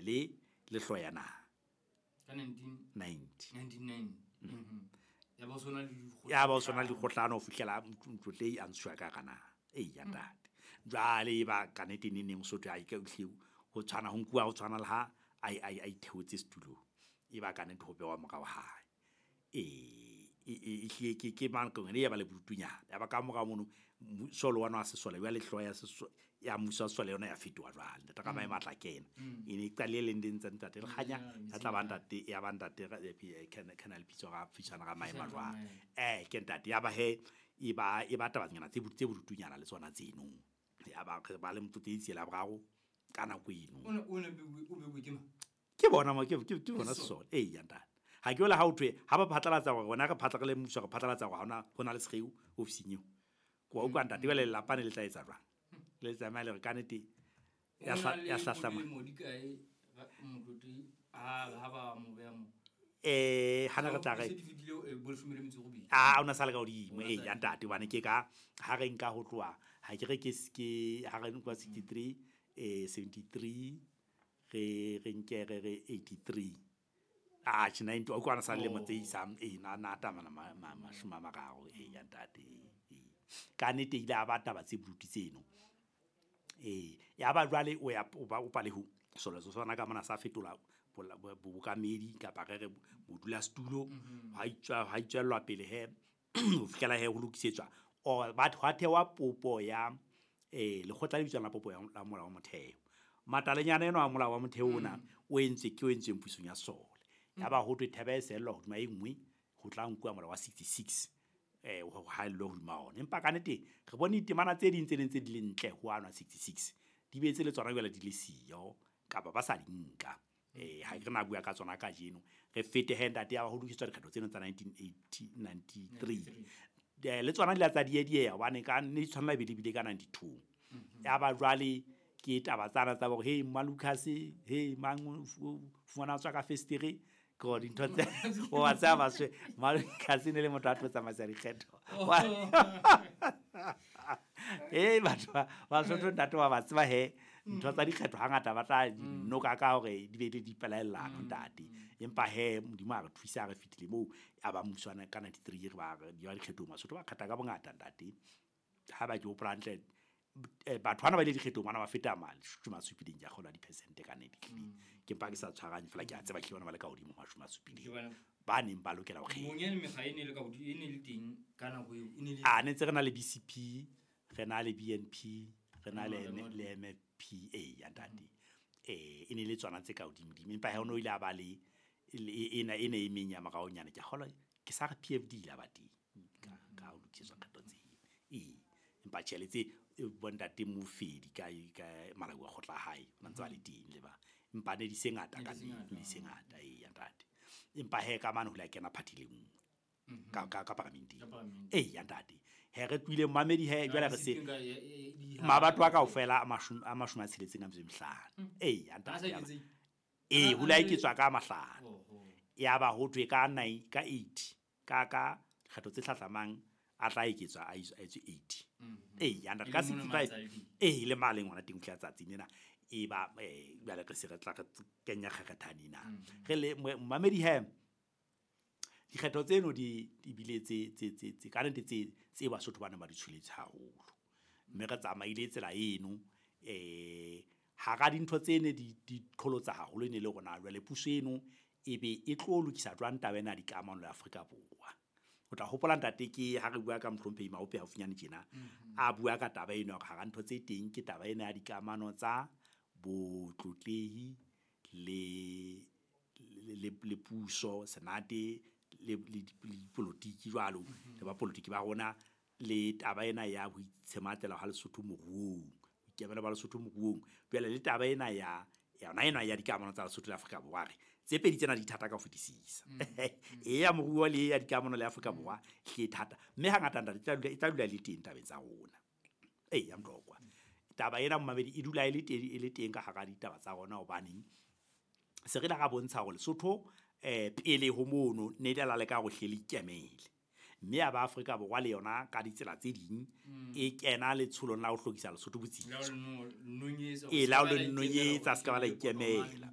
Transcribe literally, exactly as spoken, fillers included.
le lehloya ya naha ka nineteen ninety ninety-nine. Mhm. Ya ba sona le dikgohlano. Ya ba sona le dikgohlano ho fihlela Motlotlei a ntshuwa ka hara naha. Eya ntate. Jwale ba ka nnete neng neng Sotho ha e ho tshwana ho nkuwa ho tshwana le ha a a itheotse setulong. E ba ka nnete ho bewa morao hae. E e e ke ke mang ke ya ba le bodutunyana. Ya ba ka morao mono solo wa nwa sesole ya lehloya seso ya mmuso wa sesole yona ya fetoha jwale. Ntate ka maemo a tla kena. E ne qale le leng tsa ntate le kganya ya tla ba ntate ya ba ntate Colonel Pitso ga fitshana ga maemo jwale. Eh ke ntate ya ba he e ba e ba taba tsena tse tse bodutunyana le tsona tseno. Ya ba ba le Motlotlei tsela boraro ka nako eno. O ne o ne o be ke mang? Ke bona mo ke ke bona sesole. Eh ya ntate. Ha ke ola ha o thwe ha ba phatlalatsa hore rona re phatlalatsa le mmuso re phatlalatsa hore ha hona hona le sekgeo ofising eo. Ko utlwa ntate ba le lelapa ne le tla etsa jwang? Le tsamaya le re ka nnete ya ya hlahlama. Eh ha re tla re ah ona sale ka hodimo eh ya ntate bane ke ka ha re nka ho tloha ha ke re ke ke ha re nka sixty-three eh seventy-three re re nke re re eighty-three ah ninety o kwana sa lemo tse isang eh na na tamana mashome a mararo eh ya ntate ka nnete ile a ba taba tse bodutu tseno eh ya ba jwale o ya o ba o paleho solo sona ka mona sa fetola bokamedi kapa re re bodula setulo ha itswa ha itswellwa pele he ho fihlela he ho lokisetswa o batho ha thewa popo ya eh lekgotla le bitswang la popo ya la molao wa motheo. Matalenyana eno a molao wa motheo ona o entswe ke o entsweng pusong ya sole. Ya ba ho thwe thebe e sellwa hodima e nngwe ho tla nkuwa molao wa sixty-six eh ho haellwe hodima ona. Empa ka nnete re bone ditemana tse ding tse neng tse di le ntle ho ano sixty-six di betse le tsona jwale di le siyo kapa ba sa di nka. Eh ha re na bua ka tsona kajeno re fete he ntate ya ho lokisetswa dikgetho tseno tsa nineteen eighty ninety-three le tsona di la tsa diedieya hobane ka ne di tshwanela be di bile ka ninety-two. Ya ba jwale ke taba tsana tsa hore hey Malucas hey mang fumana tswa ka festere ke hore dintho tse o wa tseba baswe Malucas ne le motho a tlo tsamaisa dikgetho. Eh batho ba Sotho ntate wa ba tseba he ntho tsa dikgetho hangata ba tla noka ka hore di be le dipelaellano ntate. Empa he Modimo a re thusa re fitile moo a ba mmuswana ka ninety-three re ba di wa dikgethong Basotho ba kgetha ka bongata ntate. Ha ba ke hopola hantle batho bana ba ile dikgethong bana ba feta mashome a supileng ke a kgolwa di-percent ka nnete ehlile. Ke mpa ke sa tshwaranye fela ke a tseba ehlile bona ba le ka hodimo mashome a supileng ba neng ba lokela ho kgetha. Bonyane mekga e ne le ka hodimo e ne le teng ka nako eo e ne le ah ne ntse re na le B C P re na le B N P re na le le M F P A ya ntate. Eh e ne le tsona tse ka hodimo dimo empa ha ono ile a ba le ena e ne e meng ya moraonyana ke a kgolwa ke sa re P F D ile ba teng ka ka ho lokisetswa kgetho tseo. Eh empa tjhelete bontate Mofedi ka ka Malawi wa kgotla hae ba ntse ba le teng le ba empa ne di se ngata ka nnete di se ngata eh ya ntate. Empa he ka mane ho la kena party le nngwe ka ka ka paramenteng eh ya ntate he re tlohile mamedi he jwale re se mabatho a kaofela a mashome a mashome a tsheletseng a metso e mehlano eh ya ntate eh ho la eketswa ka mahlano ya ba ho thwe ka nine ka eight ka ka kgetho tse hlahlamang a tla eketswa a etswe eighty. Eh ya ntate ka sixty-five eh le male ngwana teng tla tsatsing lena e ba eh jwale re se re tla re kenya kgakgathane na re le mamedi he dikgetho tseno di di bile tse tse tse tse ka nnete tse tse Basotho ba neng ba di tsholetse haholo mme re tsamaile tsela eno eh hara dintho tse ne di di qholotsa haholo ne le rona jwale puso eno e be e tlo lokisa jwang taba ena dikamano le Afrika Borwa. O tla hopola ntate ke ha re bua ka Mohlomphehi Maope haufinyane tjena a bua ka taba eno hore hara ntho tse teng ke taba ena ya dikamano tsa botlotlehi le le le puso senate le le dipolotiki jwalo le ba politiki ba rona le taba ena ya ho itshematela ha Lesotho moruong boikemelo ba Lesotho moruong jwale le taba ena ya yona ena ya dikamano tsa Lesotho le Afrika Borwa re tse pedi tsena di thata ka ho fetisisa e ya moruo le ya dikamano le Afrika Borwa ke thata mme hangata ntate e tla dula e tla dula le teng tabeng tsa rona e ya mtlokwa taba ena mmamedi e dula e le teng e le teng ka hara ditaba tsa rona hobane se re la ga bontsha hore Lesotho eh pele ho mono ne le la le ka go hle le ikemele mme ya ba Afrika Borwa le yona ka ditsela tse ding e kena letsholong la ho hlokisa Lesotho botsitso e la ho le nonyetsa se ka ba la ikemela.